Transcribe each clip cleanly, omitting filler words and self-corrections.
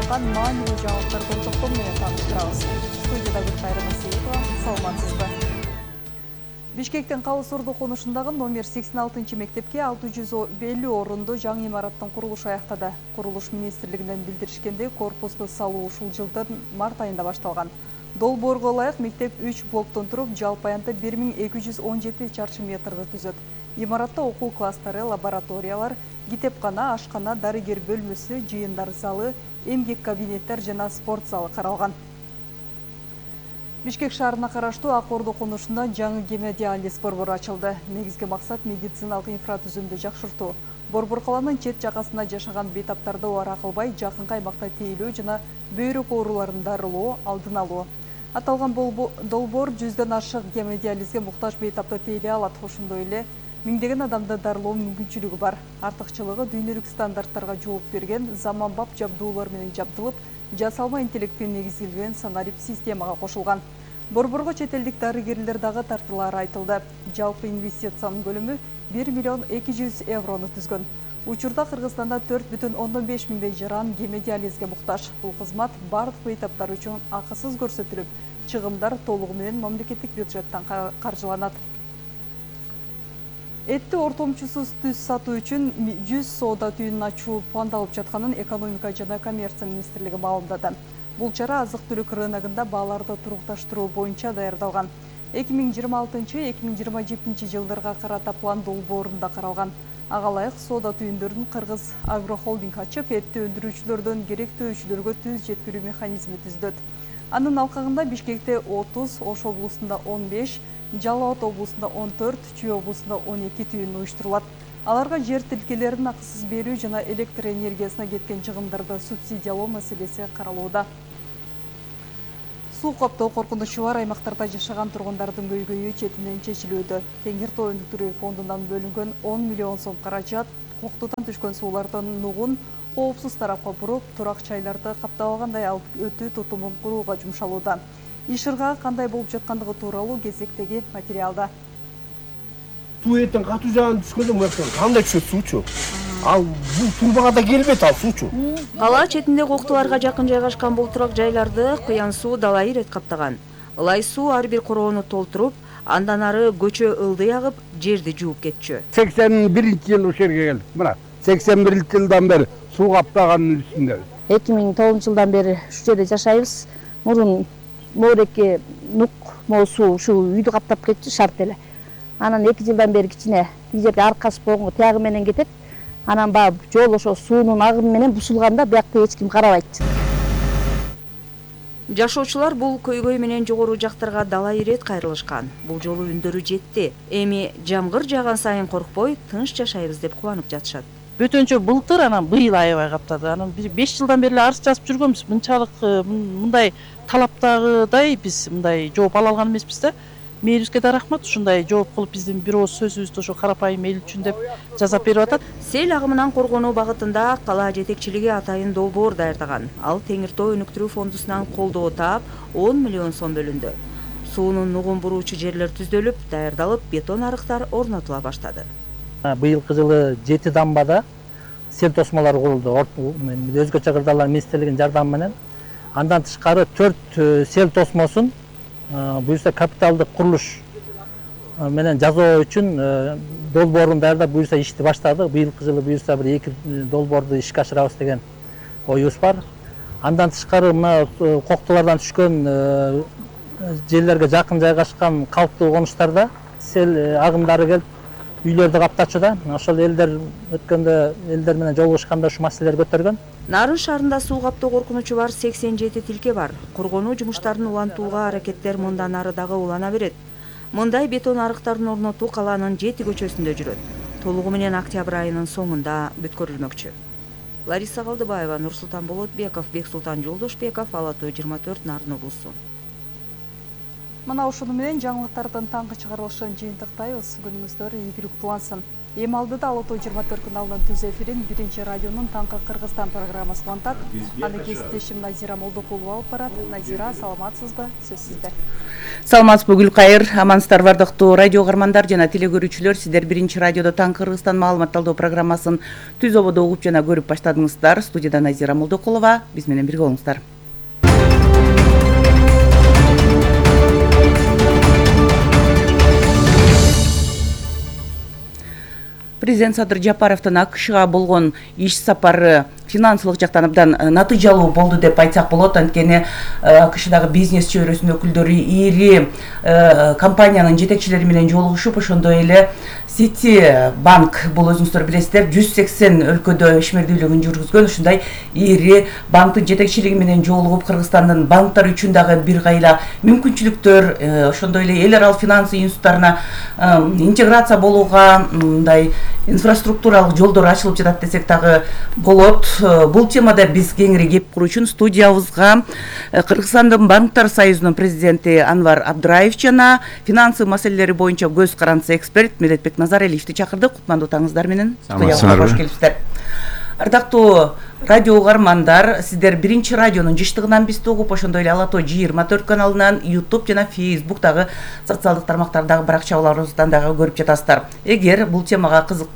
жаткан маанилүү жаңылыктардын топтому менен тааныштырабыз. Студияда Гүлкайры Насиевова, саламатсызбы? Бишкектин Кабыс Орду конушундагы номер 86 мектепке 650 орундуу жаңы имараттын курулушу аяктады. Курулуш министрлигинен билдиришкендей, корпусту салуу ушул жылдын март айында башталган. Долбоорго ылайык мектеп 3 блоктон туруп, жалпы аянтта 1217 чарчы метрди түзөт. Имаратта окуу класстары, лабораториялар, китепкана, ашкана, дарыгер бөлмөсү, жыйындар залы, эмгек кабинеттер жана спорт залы каралган. Бишкек шаарына караштуу Ак Орду конушунда жаңы гемодиализ борбору ачылды. Негизги максат медициналык инфратүзүмдү жакшыртуу. Борбор каланын чет жакасында жашаган бейтаптарды убара кылбай, жакынкы аймакта тейлөө жана бөйрөк ооруларын дарылоо, алдын алуу. Аталган долбоор 100дөн ашык гемодиализге муктаж бейтапты тейлей алат. Ошондой эле миңдеген адамды дарылоо мүмкүнчүлүгү бар. Артыкчылыгы дүйнөлүк стандарттарга жооп берген заманбап жабдуулар менен жабдылып, жасалма интеллектке негизилген санарип системага кошулган. Борборго чет элдик дарыгерлер дагы тартылары айтылды. Жалпы инвестициянын көлөмү 1 миллион 200 еврону түзгөн. Учурда Кыргызстанда 4,5 миңдей жаран гемодиализге муктаж. Бул кызмат бардык бейтаптар үчүн акысыз көрсөтүлүп, чыгымдар толугу менен мамлекеттик бюджеттен каржыланат. Этти ортомчусуз түз сатуу үчүн 100 соода түйүнүн ачуу пландалып жатканын Экономика жана коммерция министрлиги маалымдады. Бул чара азык-түлүк рыногунда бааларды турукташтыруу боюнча даярдалган. 2026-2027 жылдарга карата план долбоорунда каралган. Ага ылайык соода түйүндөрүн Кыргыз агрохолдинг ачып, этти өндүрүүчүлөрдөн керектөөчүлөргө түз жеткирүү механизми түздөт. Анын алкагында Бишкекте 30, Ош облусунда 15, Жалал Абад облусунда 14, Чүй облусунда 12 түйүн уюштурулат. Аларга жер тилкелерин акысыз берүү жана электр энергиясына кеткен чыгымдарды субсидиялоо маселеси каралууда. Суу каптоо коркунучу бар аймактарда жашаган тургундардын көйгөйү четинен чечилүүдө. Теңир Тоо өнүктүрүү фондунан бөлүнгөн 10 миллион сом каражат коктудан түшкөн суулардын нугун коопсуз тарапка буруп, турак жайларды каптабагандай алып өтүү тутумун курууга жумшалууда. Иш ыргагы кандай болуп жаткандыгы тууралуу кезектеги материалда. Суу эртең катуу жаган түшкөндө мындан кандай түшөт суучу? Ал бул турбага да келбейт ал суучу. Кала четинде коктуларга жакын жайгашкан бул турак жайларды куян суу далайы ирет каптаган. Ылай суу ар бир короону толтуруп, андан ары көчө ылдый агып, жерди жууп кетчү. 81-жылы ушул жерге келдик. Мына 81-жылдан бери суу каптаганын үстүндө. 2009-жылдан бери ушул жерде жашайбыз. Мурун моореке нук суу ушул үйдү каптап кетчү шарт эле. Анан 2 жылдан бери кичине тиги жерге аркасы болгонго тиягы менен кетет. Анан баягы жол ошо суунун агымы менен бушулганда биякта эч ким карабайт. Жашоочулар бул көйгөй менен жогору жактарга далай ирет кайрылышкан. Бул жолу үндөрү жетти. Эми жамгыр жааган сайын коркпой, тынч жашайбыз деп кубанып жатышат. Бөтөнчө былтыр, анан быйыл аябай каптады. Анан 5 жылдан бери арыз жазып жүргөнбүз. Мынчалык мындай талаптагыдай биз мындай жооп ала алган эмеспиз да. Мээлибизге да рахмат, ушундай жооп кылып биздин бир ооз сөзүбүздү ошо карапайым эл үчүн деп жазап берип атат. Сел агымынан коргонуу багытында кала жетекчилиги атайын долбоор даярдаган. Ал Теңир Тоо өнүктүрүү фондусунан колдоо таап 10 миллион сом бөлүндү. Суунун нугун буруучу жерлер түздөлүп, даярдалып, бетон арыктар орнотула баштады. Быйылкы жылы 7 дамбада сел тосмолору курулду. Өзгөчө кырдаалар министрлигинин жардамы менен. Андан тышкары 4 сел тосмосун буюрса капиталдык курулуш менен жасоо үчүн долбоорун даярдап буюрса ишти баштадык. Быйылкы жылы буюрса бир 2 долбоорду ишке ашырабыз деген оюбуз бар. Андан тышкары мына коктулардан түшкөн жерлерге жакын жайгашкан калктуу конуштарда сел агымдары келип үйлөрдү каптачу. Ошол элдер өткөндө элдер менен жолугушканда ушу маселелер көтөргөн. Нарын шаарында суу каптоо коркунучу бар 87 тилке бар. Коргонуу жумуштарын улантууга аракеттер мындан ары дагы улана берет. Мындай бетон арыктарын орнотуу каланын 7 көчөсүндө жүрөт. Толугу менен октябрь айынын соңунда бүткөрүлмөкчү. Лариса Калдыбаева, Нурсултан Болотбеков, Бексултан Жолдошбеков, Ала Тоо 24, Нарын облусу. Мына ушуну менен жаңылыктардын таңкы чыгарылышын жыйынтыктайбыз. Күнүңүздөр ийгиликтүү улансын. Эми алдыда Ала Тоо 24 каналынын түз эфирин биринчи радионун таңкы Кыргызстан программасы улантат. Аны кесиптешим Назира Молдокулова алып барат. Назира, саламатсызбы? Сөз сизде. Саламатсызбы Гүлкайыр, амансыздар бардыктуу радио каармандар жана телекөрүүчүлөр. Сиздер биринчи радиодо таңкы Кыргызстан маалыматталдоо программасын түз ободо угуп жана көрүп баштадыңыздар. Студияда Назира Молдокулова, биз менен бирге болуңуздар. Президент Садыр Жапаровдун АКШга болгон иш сапары финансылык жактан абдан натыйжалуу болду деп айтсак болот. Анткени АКШдагы бизнес чөйрөсүнүн өкүлдөрү ири компаниянын жетекчилери менен жолугушуп, ошондой эле Сити банк, бул өзүңүздөр билесиздер, 180 өлкөдө ишмердүүлүгүн жүргүзгөн ушундай ири банктын жетекчилиги менен жолугуп, Кыргызстандын банктар үчүн дагы бир кайла мүмкүнчүлүктөр, ошондой эле эл аралык финанс институттарына интеграция болууга мындай инфраструктуралык жолдор ачылып жатат десек дагы болот. Бул темада биз кеңири кеп куруу үчүн студиябызга Кыргызстандын банктар союзунун президенти Анвар Абдраев жана финансы маселелери боюнча көз карандысы эксперт Медетбек Назаралиевди чакырдык. Кутмандуу таңыңыздар менен студиябызга кош келипсиздер. Ардактуу радио каармандар, сиздер биринчи радионун жыштыгынан бизди угуп, ошондой эле Ала Тоо 24 каналынан, YouTube жана Facebook'тагы социалдык тармактардагы баракчаларыбыздан дагы көрүп жатасыздар. Эгер бул темага кызык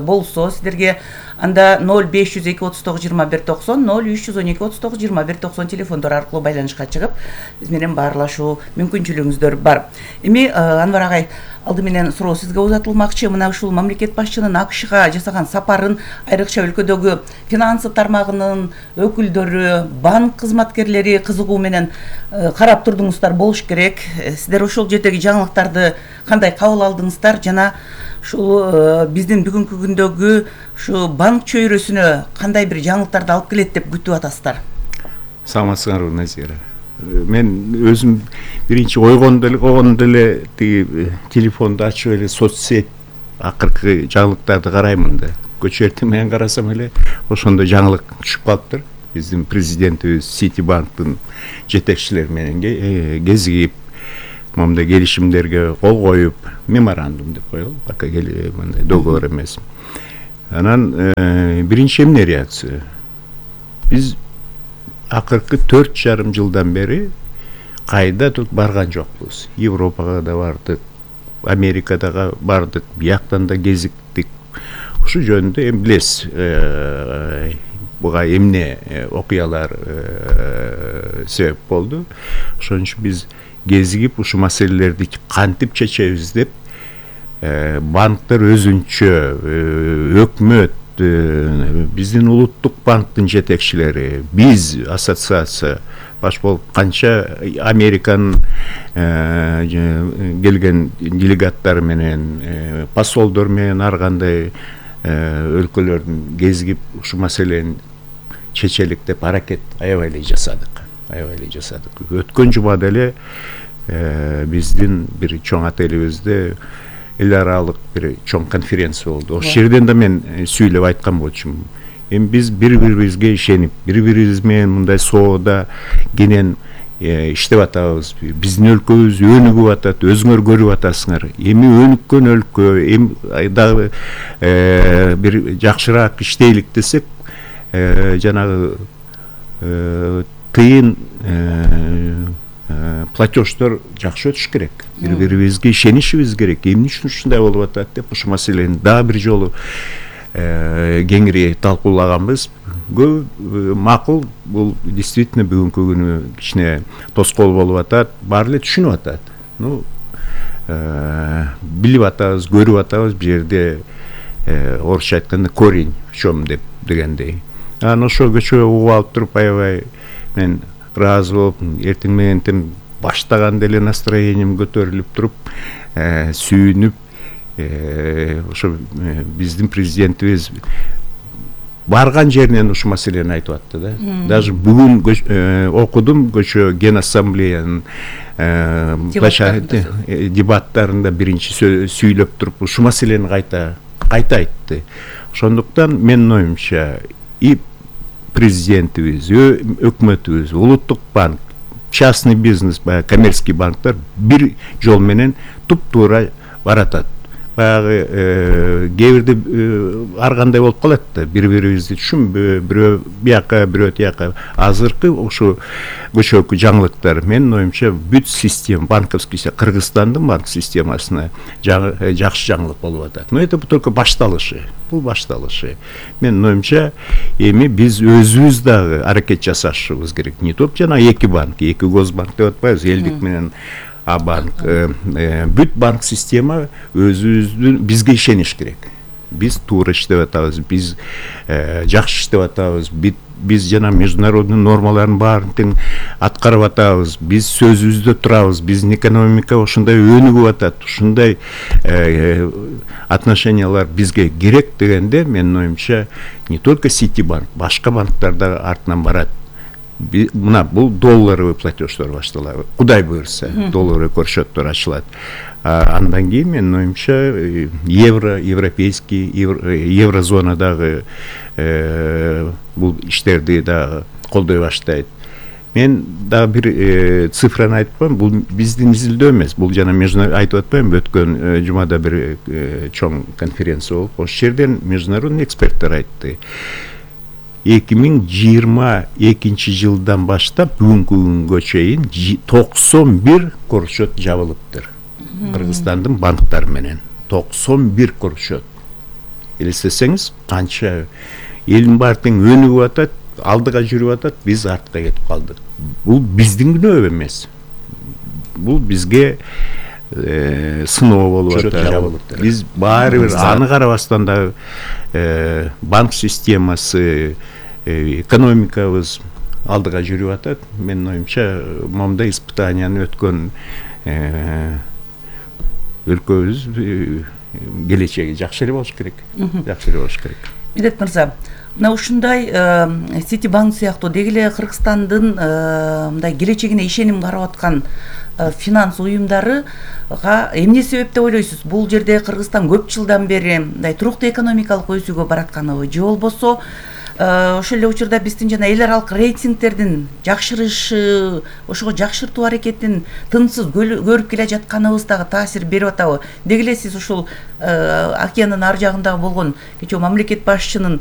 болсо, сиздерге анда 0502 39 21 90, 0312 39 21 90 телефондор аркылуу байланышка чыгып, биз менен баарлашуу мүмкүнчүлүгүңүздөр бар. Эми Анвар агай, алды менен суроо сизге узатылмакчы. Мына ушул мамлекет башчынын АКШга жасаган сапарын айрыкча өлкөдөгү финансы тармагынын өкүлдөрү, банк кызматкерлери кызыгуу менен карап турдуңуздар болуш керек. Сиздер ошол жердеги жаңылыктарды кандай кабыл алдыңыздар жана ушул биздин бүгүнкү күндөгү ушу банк чөйрөсүнө кандай бир жаңылыктарды алып келет деп күтүп атасыздар? Саламатсыңарбы, Назира. Мен өзүм биринчи койгондо эле тиги телефонду ачып эле соцсет акыркы жаңылыктарды караймын да. Көчө эртең менен карасам эле ошондой жаңылык түшүп калыптыр. Биздин президентибиз Сити банктын жетекчилери менен кезигип, момундай келишимдерге кол коюп, меморандум деп коелу, пока мындай договор эмес. Анан биринчи эмне реакция? Биз акыркы 4,5 жылдан бери кайда барган жокпуз. Европага да бардык, Америкадага бардык, бияктан да кезиктик. Ушу жөнүндө эми билесиз, буга эмне окуялар себеп болду. Ошон үчүн биз кезигип ушу маселелерди кантип чечебиз деп банктар өзүнчө, өкмөт, биздин улуттук банктын жетекчилери, биз ассоциация баш болуп канча Американын келген делегаттары менен, посолдор менен ар кандай өлкөлөрдүн кезигип ушу маселени чечелик деп аракет аябай эле жасадык. Өткөн жумада эле биздин бир чоң отелибизде эл аралык бир чоң конференция болду. Ошол жерден да мен сүйлөп айткан болчумун. Эми биз бири-бирибизге ишенип, бири-бирибиз менен мындай соода кенен иштеп атабыз. Биздин өлкөбүз өнүгүп атат, өзүңөр көрүп атасыңар. Эми өнүккөн өлкө, эми дагы бир жакшыраак иштейлик десек, жанагы тыйын платеждор жакшы өтүш керек. Бири-бирибизге ишенишибиз керек. Эмне үчүн ушундай болуп атат деп ушу маселени дагы бир жолу кеңири талкуулаганбыз. Макул, бул действительно бүгүнкү күнү кичине тоскоол болуп атат, баары эле түшүнүп атат. Билип атабыз, көрүп атабыз, бул жерде орусча айтканда корень в чем дегендей. Анан ошол көчө угуп алып туруп аябай мен ыраазы болуп, эртең менен баштаганда эле настроением көтөрүлүп туруп, сүйүнүп, ошо биздин президентибиз барган жеринен ушу маселени айтып атты да. Даже бүгүн окудум көчө Генассамблеянын дебаттарында биринчи сүйлөп туруп ушу маселени кайта айтты. Ошондуктан менин оюмча и президентибиз, өкмөтүбүз, улуттук банк частный бизнес, баягы коммерческий банктар бир жол менен туп-туура баратат. Баягы кээ бирде ар кандай болуп калат да, бири-бирибизди түшүнбөй, бирөө бияка, бирөө тияка. Азыркы ушу көчөкү жаңылыктар менин оюмча бүт система, банковский, Кыргызстандын банк системасына жакшы жаңылык болуп атат. Но это только башталышы. Бул башталышы. Менин оюмча эми биз өзүбүз дагы аракет жасашыбыз керек. Не только жана эки банк, эки госбанк деп атпайбыз, элдик менен банк, бүт банк система өзүбүздүн бизге ишениш керек. Биз туура иштеп атабыз, биз жакшы иштеп атабыз, биз жана международный нормалардын баарын тең аткарып атабыз, биз сөзүбүздө турабыз, биздин экономика ушундай өнүгүп атат, ушундай отношениялар бизге керек дегенде, менин оюмча не только Ситибанк, башка банктар да артынан барат. Мына бул долларовый платеждор башталат. Кудай буюрса, долларовый көрсөттөр ачылат. Андан кийин менин оюмча европейский, еврозонадагы бул иштерди да колдой баштайт. Мен дагы бир цифраны айтпам, бул биздин изилдөө эмес, бул жана айтып атпаймынбы, өткөн жумада бир чоң конференция болуп, ошол жерден международный эксперттер айтты. 2022 жылдан баштап бүгүнкү күнгө чейин 91 корчот жабылыптыр. Кыргызстандын банктары менен 91 корчот. Элестесеңиз, канча элдин баары тең өнүгүп атат, алдыга жүрүп атат, биз артка кетип калдык. Бул биздин күнөө эмес. Бул бизге сыноо болуп атат. Биз баары бир аны карабастан да банк системасы, экономикабыз алдыга жүрүп атат. Менин оюмча, момундай испытанияны өткөн өлкөбүз келечеги жакшы эле болуш керек. Жакшы эле болуш керек. Медет мырза, мына ушундай Ситибанк сыяктуу деги эле Кыргызстандын мындай келечегине ишеним карап аткан финанс уюмдарыга эмне себеп деп ойлойсуз? Бул жерде Кыргызстан көп жылдан бери мындай туруктуу экономикалык өсүүгө баратканыбы, же болбосо ошол эле учурда биздин жана эл аралык рейтингтердин жакшырышы, ошого жакшыртуу аракетин тынсыз көрүп келе жатканыбыз дагы таасир берип атабы? Деги эле сиз ушул океандын ар жагындагы болгон кечээ мамлекет башчынын